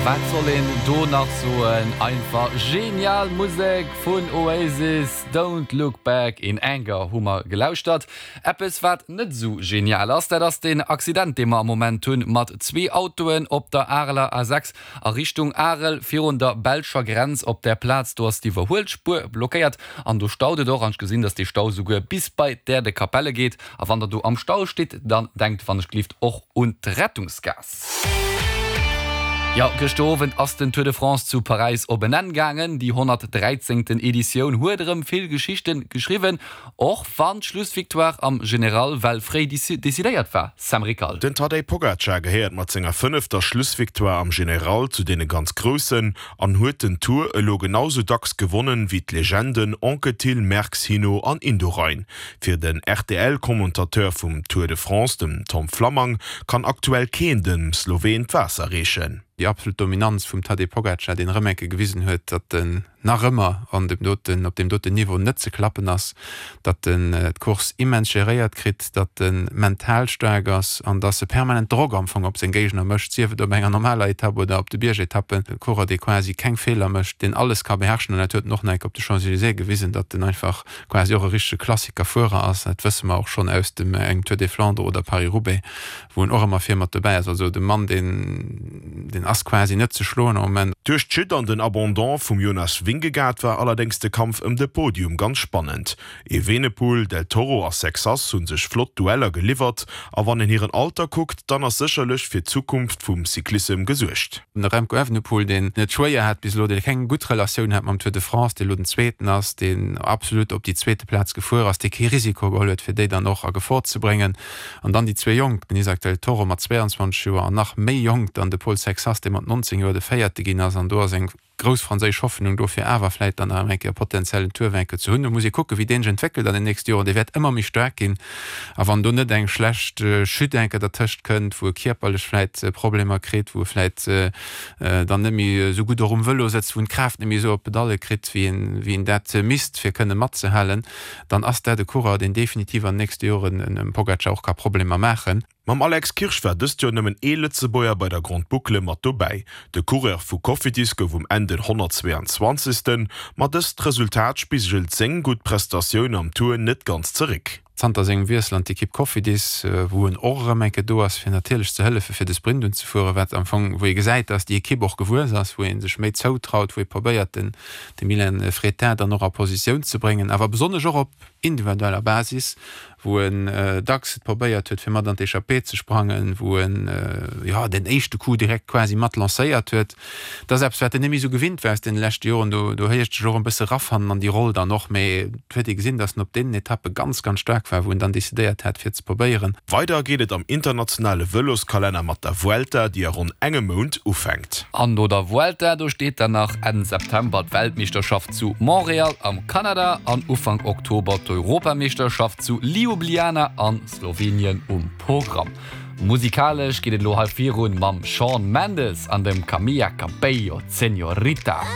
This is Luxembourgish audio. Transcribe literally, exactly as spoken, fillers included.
Wat soll een do nach soen? Einfach genial Musek vun Oasis, Don't Look Back in Anger hu mer gelauschtert. Eppes wat net sou genial ass, dat ass den Accident dee mer am Moment hunn mat zwee Autoen op der Areler A sechs a Richtung Arel virun der belscher Grenz. Op der Plaz do ass d'Iwwerhuelspuer blockéiert an do staut et och an ech gesinn, dass dee Stau souguer bis bei d'Äerdekapelle geet. A wann der do am Stau stitt, dann denkt wann ech gelift och un d'Rettungsgaass. Jo, gëschter Owend ass den Tour de France zu Paräis op en Enn gaangen. Déi honnertdräizéngten Editioun huet erëm vill Geschichten geschriwwen, och wann d'Schlussvictoire am General well fréi decidéiert war. Sam Rickal. Den Tadej Pogacar gehéiert mat senger fënnefter Schlussvictoire am General zu deene ganz Groussen an huet den Tour elo genau sou dacks gewonnen wéi d'Legenden Anquetil, Merckx, Hinault an Indurain. Fir den R T L-Commentateur vum Tour de France, dem Tom Flammang, kann aktuell keen dem Sloween d'Waasser reechen. Déi absolut Dominanz vum Tadej Pogacar, deen erëm eng Kéier gewisen huet, datt en nach ëmmer an dem doten, op deem doten Niveau net ze klappen ass, datt en d'Course immens geréiert kritt, datt en mental staark ass an datt e permanent Drock am Fong op seng Géigner mécht, sief et op enger normaler Etapp oder op de Biergetappen. E Coureur, dee quasi keng Feeler mécht, deen alles ka beherrschen an dat huet en och nach eng Kéier op de Champs-Élysées gewisen, datt en einfach quasi och e richtege Klassikerfuerer ass. Dat wësse mer och schonn aus dem engem Tour des Flandres oder Paris-Roubaix, wou en och ëmmer vir mat dobäi ass. Also de Mann, deen, deen ass quasi net ze schloen am Moment. Duerch d'Chute an den Abandon vum Jonas Vingegaard war allerdéngs de Kampf ëm de Podium ganz spannend. Evenepoel, Del Toro a Sexas hu sech flott Dueller geliwwert a wann een hiren Alter kuckt, dann ass sécherlech fir d'Zukunft vum Cyclissem gesuergt. De Remco Evenepoel, deen et schwéier hat bis elo, dee keng gutt Relatioun hat mam Tour de France, dee elo den Zweeten ass, deen absolut op déi zweete Plaz gefuer ass, dee kee Risiko geholl huet, fir déi dann och a Gefor ze bréngen. An dann déi zwee Jonk, den Isaac Del Toro mat zwee an zwanzeg Joer an nach méi jonk dann de Paul Sexas, dee mat nonzéng Joer de Véierte ginn ass. An do ass eng grouss franséisch Hoffnung do, fir awer vläicht dann nach eng Kéier potenziellen Tour-Vainqueur ze hunn. Do muss ee kucken, wéi deen sech entwéckelt an den nächste Joren. Dee wäert ëmmer méi staark ginn. A wann do net eng schlecht Chute eng Kéier dertëscht kënnt, wou e kierperlech vläicht Problemer kritt, wou e vläicht dann net méi esou gutt och um Vëlo sëtzt, wou en d'Kraaft net méi esou op d'Pedalle kritt, wéi en, wéi en dat misst, fir kënne matzehalen, dann ass dat e Coureur, deen definitiv an den nächste Joren dem Pogacar och ka Problemer maachen. Mam Alex Kirsch war dëst Joer nëmmen ee Lëtzebuerger bei der Grande Boucle mat dobäi. De Coureur vu Cofidis gouf um Enn den honnertzwee an zwanzegsten Ma dëst Resultat spigelt seng gutt Prestatioun am Tour net ganz zeréck. Zanter sengem Wiessel an d'Ekipp Cofidis, wou en och erëm eng Kéier do ass, fir natierlech ze hëllefe fir de Sprint unzefueren, wat am Fong, wou ee gesäit, datt déi Ekipp och gewuess ass, wou ee sech méi zoutraut, wou ee probéiert den de Milan Fretin dann och a Positioun ze bréngen, awer besonnesch och op individueller Basis, wou en dacks et probéiert huet, fir mat an d'Echappée ze sprangen, wou en, jo, den éischte Coup direkt quasi mat lancéiert huet. Dat ass eppes, wat en net méi esou gewinnt war aus deene leschte Joren. Do, do héiert sech och e bësse rafannen an déi Roll dann och. Mee et huet ee gesinn, datt en op deenen Etappe ganz, ganz staark war, wou en dann decidéiert hat, fir ze probéieren. Weider geet et am internationale Vëloskalenner mat der Vuelta, déi a ronn engem Mount ufänkt. An no der Vuelta, do steet dann nach Enn September d'Weltmeeschterschaft zu Montreal am Kanada an Ufank Oktober d'Europameeschterschaft zu Ljubljana a Slowenien um Programm. Musikalesch geet et elo hei virun mam Shawn Mendes an dem Camila Cabello, Señorita.